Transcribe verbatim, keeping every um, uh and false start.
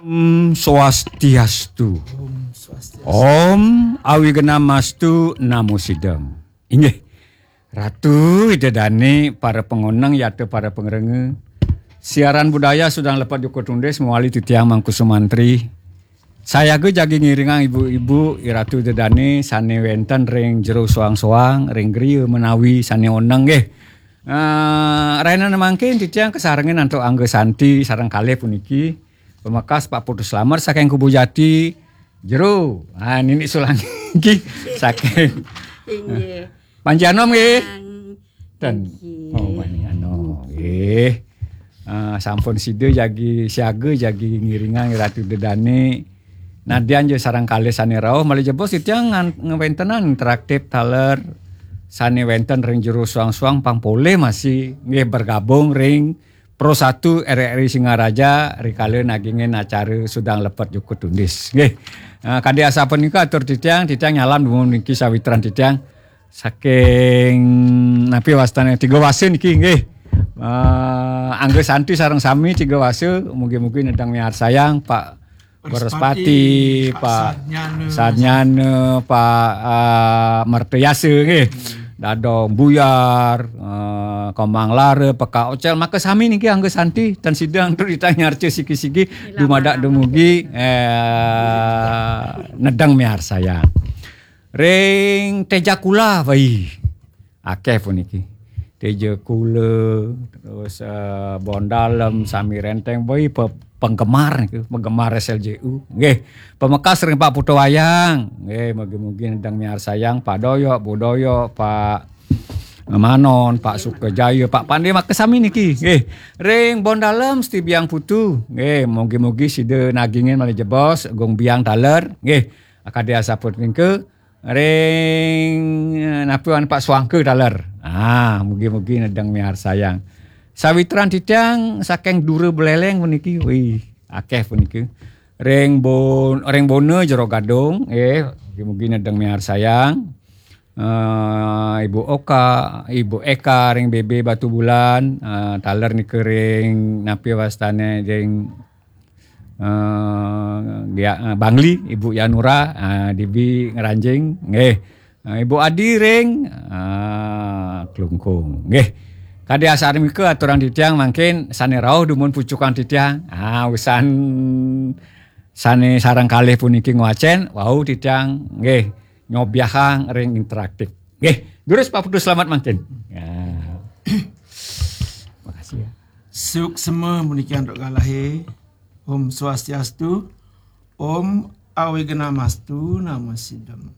Om Swastiastu. Om Swastiastu. Om Awignamastu Namo Sidam. Inggih. Ratu Ida Dane, para pangoneng yata para pangrengga. Siaran budaya Sudang Lepat Joko Tundis mawali titiang Mangku Sumantri. Sayaga jagi ngiringang ibu-ibu, i Ratu Ida Dane sane wenten ring jero soang-soang, ring griya menawi sane oneng nggih. Eh, rahina mangkin titiang kasarengin antuk Angga Santi sareng kalih puniki. Pamekas Pak Putu Slamet saking Kubu Jati, jero. Ah, nini sulang niki saking Inggih. Panji Anom nggih. Sang Ten. Inggih. Oh, Panji Anom nggih. Ah, sampun sida jagi siaga jagi ngiringang Ratu Ida Dane. Nadyan ja sareng kalih sane rauh malih jebos titiang ngan-, ngwentenan interaktif taler sane wenten ring jero soang-soang pang polih masih nggih bergabung ring Pro Satu R R I Singaraja rikala nagingin acara Sudang Lepet Joko Tundis. Nggih. Ah, kadi asapunika atur titiang, titiang nyalam dumun niki sawitran titiang saking napi wastane Tiga Wasa niki nggih. Ah, Angga Santi sareng sami Tiga Wasa, mugi-mugi nedeng miarsayang Pak Wrespati, Wrespati, Pak Pak Sadnyana. Sadnyana, Pak, ah, Mertayasa nggih. Dadong Buyar, ah, Komang Lara, Peka Ocel, maka sami niki Angga Santi, tan sida antuk titiang nyarca siki-siki, dumadak dumugi, eh, nedeng miarsayang. Ring Tejakula, wai. Akeh puniki. Teja Kula, terus, eh, Bondalem, Sami Renteng, boi pe-, penggemar niku, penggemar S L J U. Nggih, pamekas ring Pak Putu Wayang. Nggih, mugi-mugi nedeng miarsayang Pak Doyok, Bu Doyok, Pak Manon, Pak Sukajaya, Pak Pande, maka sami niki. Nggih, ring Bondalem, Setibiang Putu. Nggih, mugi-mugi sida nagingin malih jebos, Gung Biang taler. Nggih, kadi asapunika. Ring, eh, napi wan Pak Suangka taler. Ah, mugi-mugi nedeng miarsayang. Sawitran titiang saking Dura Beleleng puniki, wih, akeh puniki. Ring Bon-, ring Bona Jero Gadung, eh, mugi-mugi nedeng miarsayang. Eh, Ibu Oka, Ibu Eka ring B B Batubulan, eh, taler nika ring napi wastane ring eh, Gia-, eh, Bangli, Ibu Yanura, eh, D B Ngranjing, nggih. Eh, Ibu Adi ring, eh, Klungkung, nggih. Kadi asapunika aturang titiang mangkin sane rauh dumun pucukan titiang. Ah, usan sane sareng kalih puniki ngwacen, wau titiang nggih nyobiahang ring interaktif. Nggih, durus Pak Putu Slamet mangkin. Ya. Makasih ya. Suksma puniki antuk galahe. Om Swastiastu. Om Awignamastu Namo Sidam.